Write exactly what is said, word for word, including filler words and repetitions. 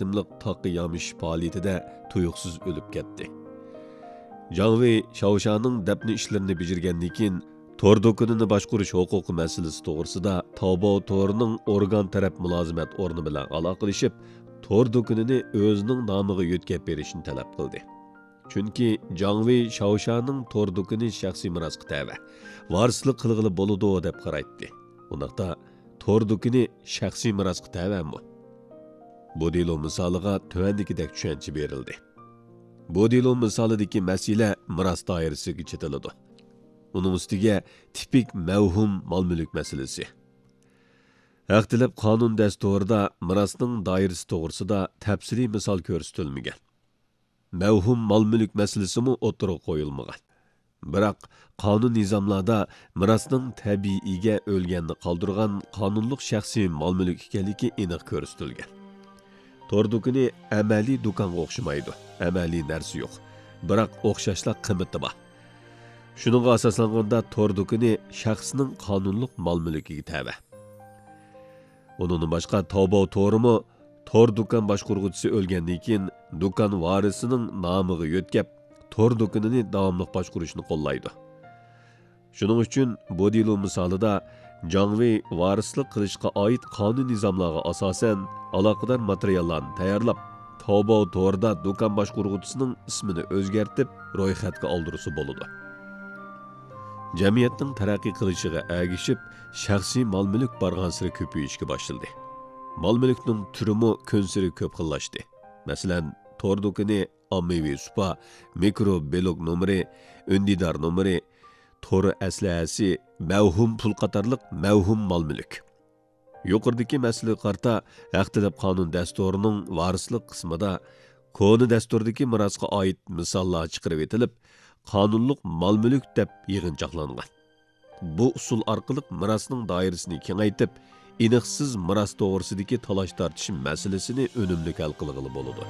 قېتىملىق تاغقا يامىشىش پائالىيىتىدە تۇيۇقسىز ئۆلۈپ كەتتى. جاڭ ۋېي شاۋشانىڭ دەپنە ئىشلىرىنى بېجىرگەندىن كېيىن، تور دۇكىنىنى باشقۇرۇش ھوقۇقى مەسىلىسى توغرىسىدا تاۋباۋ تورىنىڭ ئورگان تەرەپ مۇلازىمەت ئورنى بىلەن ئالاقىلىشىپ، تور دۇكىنىنى ئۆزىنىڭ نامىغا يۆتكەپ بېرىشنى تەلەپ قىلدى. چۈنكى جاڭ ۋېي شاۋشانىڭ تور دۇكىنى شەخسىي مىراسقا تەۋە، ۋارىسلىق قىلغىلى بولىدۇ دەپ قارايتتى. ئۇنداقتا، تور دۇكىنى شەخسىي مىراسقا تەۋەمۇ؟ بۇ دېلو مىسالىغا تۆۋەندىكىدەك چۈشەنچە بېرىلدى. بۇ دېلو مىسالىدىكى مەسىلە مىراس دائىرىسىگە چېتىلىدۇ. ئۇنىڭ ئۈستىگە تىپىك مەۋھۇم مال-مۈلۈك مەسىلىسى. ھەق تەلەپ قانۇن دەستۇرىدا مىراسنىڭ دائىرىسى توغرىسىدا تەپسىلىي مىسال كۆرسىتىلمىگەن. مەۋھۇم مال-مۈلۈك مەسىلىسىمۇ ئوتتۇرىغا قويۇلمىغان. بىراق، قانۇن نىزاملاردا مىراسنىڭ تەبىئىي ئىگە ئۆلگەندە قالدۇرغان قانۇنلۇق شەخسىي مال-مۈلۈك ئىكەنلىكى ئېنىق كۆرسىتىلگەن. تور دۇكىنى ئەمەلىي دۇكانغا ئوخشىمايدۇ، ئەمەلىي نەرسە يوق، بىراق ئوخشاشلا قىممىتى بار. شۇنىڭغا ئاساسلانغاندا، تور دۇكىنى شەخسنىڭ قانۇنلۇق مال-مۈلكىگە تەۋە. ئۇنىڭدىن باشقا، تاۋباۋ تورىمۇ تور دۇكان باشقۇرغۇچىسى ئۆلگەندىن كېيىن، دۇكان ۋارىسىنىڭ نامىغا يۆتكەپ، تور دۇكىنىنى داۋاملىق باشقۇرۇشنى قوللايدۇ. شۇنىڭ ئۈچۈن بۇ دېلو مىسالىدا جاڭ ۋېي ۋارىسلىق قىلىشقا ئائىت قانۇن نىزاملارغا ئاساسەن، ئالاقىدار ماتېرىياللارنى تەييارلاپ، تاۋباۋ تورىدا دۇكان باشقۇرغۇچىسىنىڭ ئىسمىنى ئۆزگەرتىپ، رويخەتكە ئالدۇرسا بولىدۇ. جەمئىيەتنىڭ تەرەققىي قىلىشىغا ئەگىشىپ، شەخسىي مال-مۈلۈك بارغانسېرى كۆپىيىشكە باشلىدى. مال-مۈلۈكنىڭ تۈرىمۇ كۈنسېرى كۆپ خىللاشتى. مەسىلەن، تور دۇكىنى، ئاممىۋى سۇپا، مىكرو بىلوگ نومۇرى، ئۈندىدار نومۇرى، تور ئەسلىھەسى، مەۋھۇم پۇل قاتارلىق مەۋھۇم مال-مۈلۈك. يۇقىرىدىكى مەسىلىگە قارىتا، ھەق تەلەپ قانۇن دەستۇرىنىڭ ۋارىسلىق قىسمىدا كونا دەستۇردىكى مىراسقا ئائىت مىساللار چىقىرىۋېتىلىپ، قانۇنلۇق مال-مۈلۈك دەپ يىغىنچاقلانغان. بۇ ئۇسۇل ئارقىلىق مىراسنىڭ دائىرىسىنى كېڭەيتىپ، ئېنىقسىز مىراس توغرىسىدىكى تالاش-تارتىش مەسىلىسىنى ئۈنۈملۈك ھەل قىلغىلى بولىدۇ.